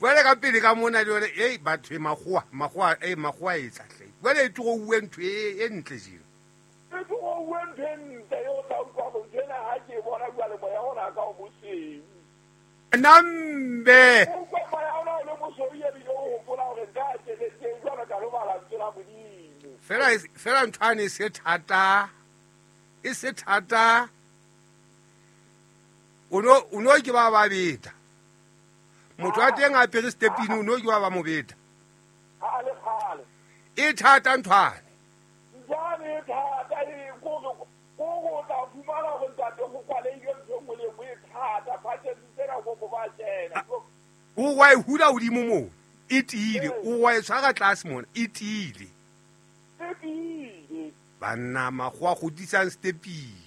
Jwale ka pele ka mona le yone ei batho e makgowa makgowa e makgowa e etsa hle jwale e tlogo uwe ntho e ntle jeno e tlogo uwe ntho e ntle e o tla utlwa gore ntho ena ga ke e bona jwale moya ona ka o mosweu nambe o utlwa moya ona o le mosweu ebile o gopola gore nka a tšeletseng jwalo ka lo bala lentswe la Modimo. Fela fela ntho ane e se thata e se thata o no ke ba ba beta motho a teng a apere stepini o no ke ba ba mo beta e thata nthwane nthwane e thata e kore o tla fumana gore ntate go kwaleile ntho nngwe le nngwe e thata phatšetsi tsena ko ba tsena o wa e hula godimo moo e tiile o wa e tshwara tlase mona e tiile e tiile banna makgowa godisang stepini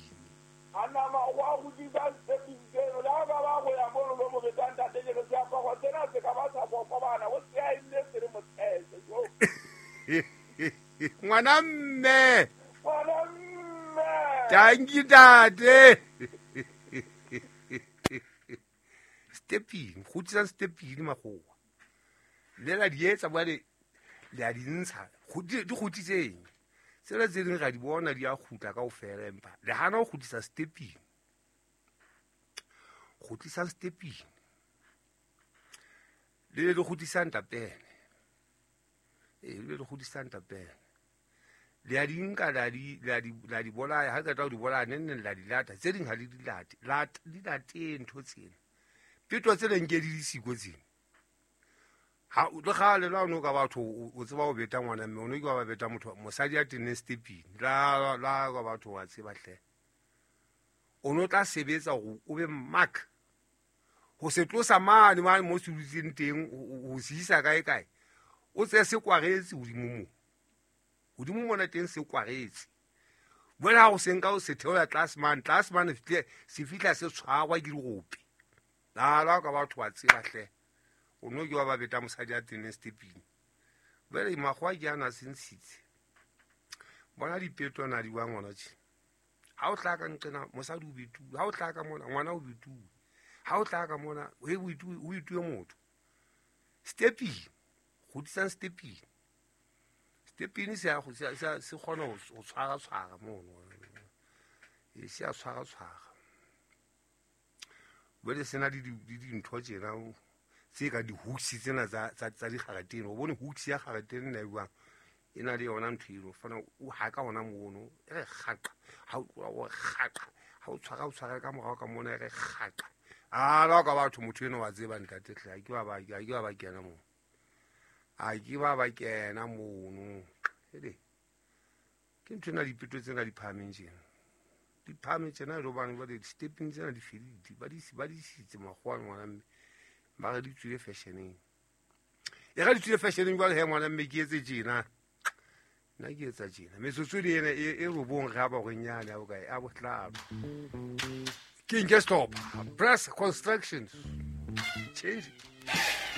banna makgowa godisang stepini tseno le ga ba ba go ya mono lo mo betang ntate ke re seaparo sena se ka ba sa kokobana o se a e nne se le motshese jo ngwana mme ngwana mme tanki tate stepini godisang stepini makgowa le la di etsa bjale le a di ntsha di goditseng tsela tse dingwe ga di bona di a gutla ka ofela empa le gana go godisa stepini go tlisa stepini le le godisang tapene ee le le godisang tapene le a di nka la di bolaya ga qeta go di bolaya ne nne la di lata tse dingwe ga le di late di late ntho tsena peto tse leng ke di disiko tsena ha le gale la o ka batho o tseba o beta ngwana mme o ne ke wa ba beta motho mosadi a tenneng stepini la la ka batho wa tseba hle o no tla sebetsa gore o be mark go se tlosa mane mane mo se dutseng teng go se isa kae kae o tseye se kwaretse godimo mo godimo mona teng se kwaretse jale ga go senka o se theola tlase mane tlase mane se fitlha se tshwarwa ke dirope la la ka batho wa tseba hle o no ke wa ba beta mosadi a tenneng stepini jale makgowa ke ana a se ntshitse bona dipetwana di bang gona tše ga o tla ka nqena mosadi o betuwe ga o tla ka mona ngwana o betuwe ga o tla ka mona o betuwe motho stepini godisang stepini stepini se kgona go tshwara-tshwara mono e se a tshwara-tshwara jale se na le dintho tsena tse ka di-hooks tsena tsa digaratene o bone hooks ya garatene nna e buang e na le yona ntho eno fana o haka ona mono e re gaqa ga o tloa o gaqa ga o tshwara o tshwara ka morago ka mona e re gaqa a la ka batho motho eno wa tseba ntate tle a ke ba ba kena mono a ke ba ba kena mono ele ke ntho ena dipeto tsena di phahameng tjena di phahameng tjena le hobane ba di-stepping tsena di fedile ba di isitse makgowa ngwana mme ba re di tswile fashioneng e ga di tswile fashioneng jwale he ngwana mme ke etse tjena nna ke etsa tjena metsotso le ena e robong ge a ba gorenyane a bokae a botlalo ke nke stop press constructions change.